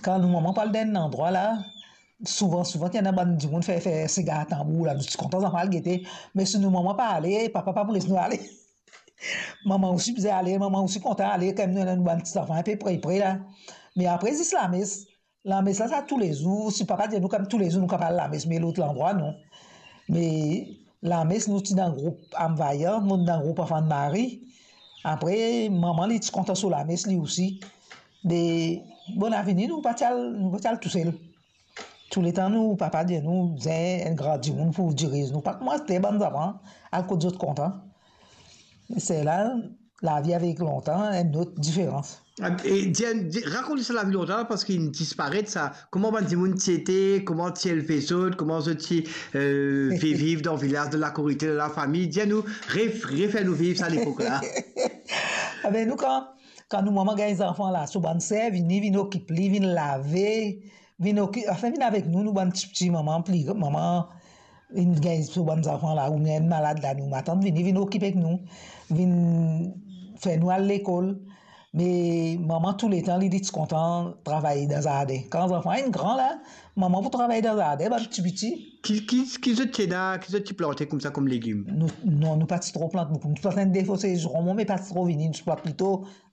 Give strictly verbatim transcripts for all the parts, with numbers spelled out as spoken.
Kan nou manman pou al dan enn landrwa la, souvan, souvan, ti ena bann dimoun fer, fer sigar tanbour la, nou ti kontan zanfan al gete, me si nou manman pa ale, papa pa pou les nou ale. Manman osi bizin ale, manman osi kontan ale, kan nou ena nou bann ti zanfan inpe pre, pre la. Me apre, zis lames. Lames la, sa toulezour, si papa dir nou, kan toulezour nou kapav al lames, me lot landrwa, non. Me lames, nou ti dan group Anne Vaillant, nou dan group Anfan Mari. Apre, manman, li ti kontan so lames, li osi. Me, bon, lavini, nou pa ti al, nou pa ti al tousel. Touletan nou papa dir nou, bizin enn gran dimoun pou diriz nou. Pa kouma aster bann zanfan al kot zot kontan. Se la, lavi avek lontan, enn lot diferans. E, dir, dir, rakont sa lavi lontan la, parski inn disparet sa. Kouma bann dimoun ti ete, kouma ti elve zot, kouma zot ti, eh, viv, viv dan vilaz, dan lakour, ete dan lafami. Dir nou, ref-, refer nou viv sa lepok la. Abe, nou, kan, kan nou manman gagn zanfan la, so bann ser vini, vinn okip li, vinn lave, vinn oki-, anfin, vinn avek nou, nou bann tipti, manman pli, manman vinn gagn so bann zanfan la, oubien malad la, nou matant vini, vinn okip ek nou, vinn fer nou al lekol. Me manman touletan, li, li ti kontan travay dan zardin. Kan zanfan inn gran la, manman pou travay dan zardin, bann tipiti. Ki, ki, ki zot ti ena, ki zot ti plante koumsa kom legim? Nou, non, nou pa ti tro plant boukou. Nou ti plant enn de fo sezon, me pa ti tro vini, nou ti plant plito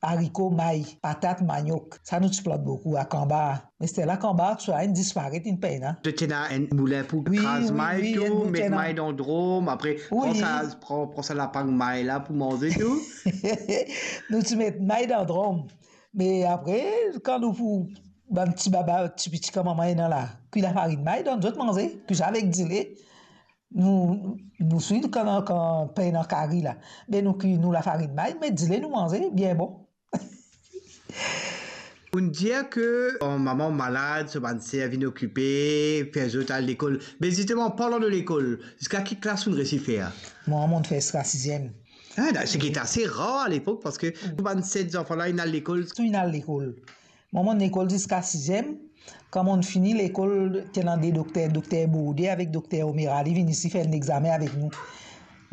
ariko, may, patat, maniok. Sa nou ti plant boukou, akanbar. Me sterla kanbar, tousala inn disparet, inn pena. Zot ti ena enn moulin pou kraz may tou, met may dan drom, apre pran sa, pran, pran sa lapagn may la pou manze tou. Nou ti met may dan drom. Me apre, kan nou pou, bann ti baba, tipiti kan manman ena la, kwi lafarinn may, donn zot manze, kwi sa avek dile. Nou, nou swiv kan, kan pena kari la. Be nou kwi nou lafarinn may, met dile, nou manze, bien bon. Ou'nn dir ke, oh, manman malad, so bann ser vinn okipe, fer zot al lekol. Me zisteman, parlan de lekol, ziska ki klas ou'nn resi fer? Mwa, mo'nn fer ziska siziem. Ah, seki ase rar alepok, parski tou bann set zanfan la, inn al lekol. Tou inn al lekol. Mwa, mo'nn lekol ziska siziem. Kan mo'nn fini lekol, ti ena de dokter, dokter Bourdais avek dokter Omera, li vinn isi fer enn examen avek nou.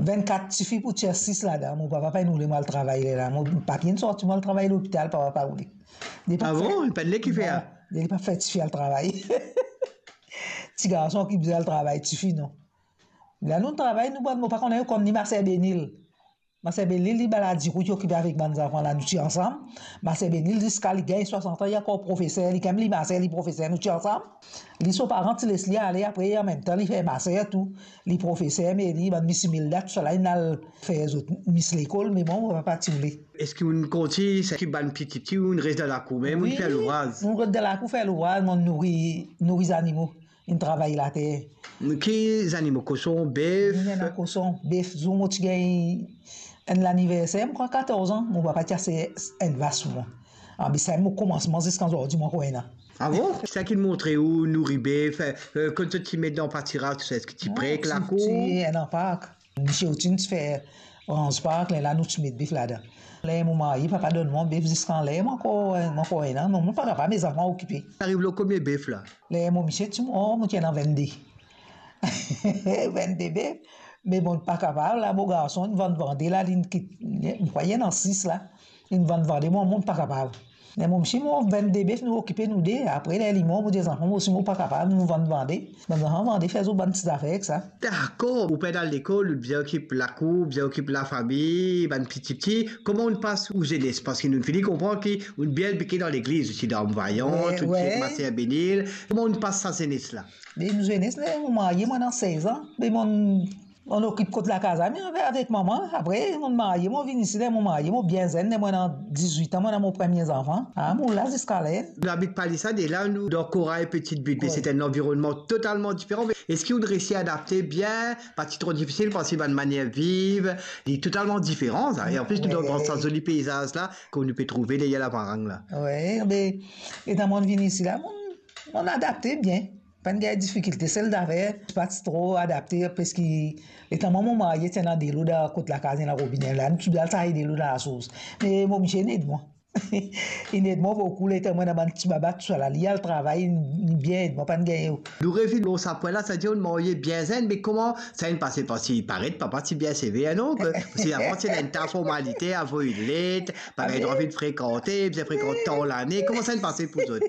Vennkat tifi pou tir sis ladan. Mo papa pa'nn oule mwa al travay lerla. Mo papie inn sorti, mwa al travay lopital, papa pa oule. Ah bon? Li pa'nn le ki fer? Non, li pa fer tifi al travay. Ti garson ki bizin al travay, tifi non. La nou travay, nou bann, mo pa konnen, konn li maser Benil. Maser Benil, li bala dirout, li okipe avek bann zanfan la, nou ti ansam. Maser Benil, ziska li gagn swasant an, li ankor profeser, li kan li maser, li profeser, nou ti ansam. Li, so paran ti les li ale, apre, anmemtan, li fer maser tou. Li profeser, me li, bann Miss Imelda, tousala, inn al fer zot Miss lekol, me mwa, mo papa ti oule. Eski ou'nn kontign, seki bann piti piti, ou'nn res dan lakour mem, ou'nn fer louvraz? Wi, nou res dan lakour fer louvraz, mo'nn nouri, nouri zanimo. Inn travay later. Ki zanimo? Koson, bef? Nou ena koson, bef. Zour mo ti gagn enn laniverser, mo krwar katorz an, mo papa ti aste enn vas pou mwa. Ah, be sa mo komansman ziska zordi, mo ankor ena. Ah bon? Seki montre ou nouri bef, eh, kot zot ti met dan patiraz, tousala, eski ti pre ek lakour? Ti ena park. Misie Otine ti fer ranz park, lerla nou ti met bef ladan. Ler mo marye, papa donn mwa bef ziska ler mo ankor, mo ankor ena, non, mo pa kapav, me zanfan okipe. Ariv lor konbien bef la? Ler mo misie ti mor, mo ti ena vennde. Vennde bef, me mo pa kapav la, mo garson inn vann vande la, li'nn kit, mo krwar ena sis la, li'nn vann vande, mo, mo pa kapav. Ler mo misie mor, vennde bef, nou okipe nou de. Apre, ler li mor, mo dir zanfan, mo osi mo pa kapav, nou vann vande. Bann zanfan vande, fer zot bann ti zafer ek sa. Dakor, ou pena lekol, ou bizin okip lakour, ou bizin okip lafami, bann piti piti. Kouma ou'nn pas ou zenes? Parski nou'nn fini konpran ki ou'nn bien bike dan legliz osi, dan Vaillant, wi, tou wi. Maser Benil. Kouma ou'nn pas sa zenes la? Be nou zenes, ler mo marye, mo ena sez an. Be mo'nn, mo'nn okip kot lakaz la, me avek, avek manman. Apre, mo'nn marye, mo vinn isi, ler mo marye, mo bien zenn, ler mo ena dizwit an, mo ena mo premie zanfan. Ah, mo la ziska ler. Nou abit pa Palissade, e la nou dan Corail Petite Butte, me se enn lanvironnman totalman diferan. Me eski ou'nn resi adapte bien? Pa ti tro difisil, parski bann manier viv, li totalman diferan sa. E anplis, nou dan Grand Sas, zoli peizaz la, kot nou pe trouve deryer Lavarang la. Wi, be, letan mo'nn vinn isi la, mo'nn, mo'nn adapte bien. Pa'nn gagn difikilte, sel zafer, pa ti tro adapte, parski letan mwa mo marye, ti ena delo dan kot lakaz, ena robine la, nou ti bizin al saz delo dan lasours. Me mo misie inn ed mwa. Inn ed mwa boukou, letan mwa ena bann ti baba tousala, li al travay, inn, inn bien ed mwa, pa'nn gagne. Nou revinn lor sa pwin la, savedir ou marye bien zenn, me kouma sa inn pase? Parski paret papa ti bien sever, non? Ke, parski avan ti ena enn ta formalite, avoy let, pa gagn drwa vinn frekante, bizin frekant tan lane. Kouma sa inn pase pou zot?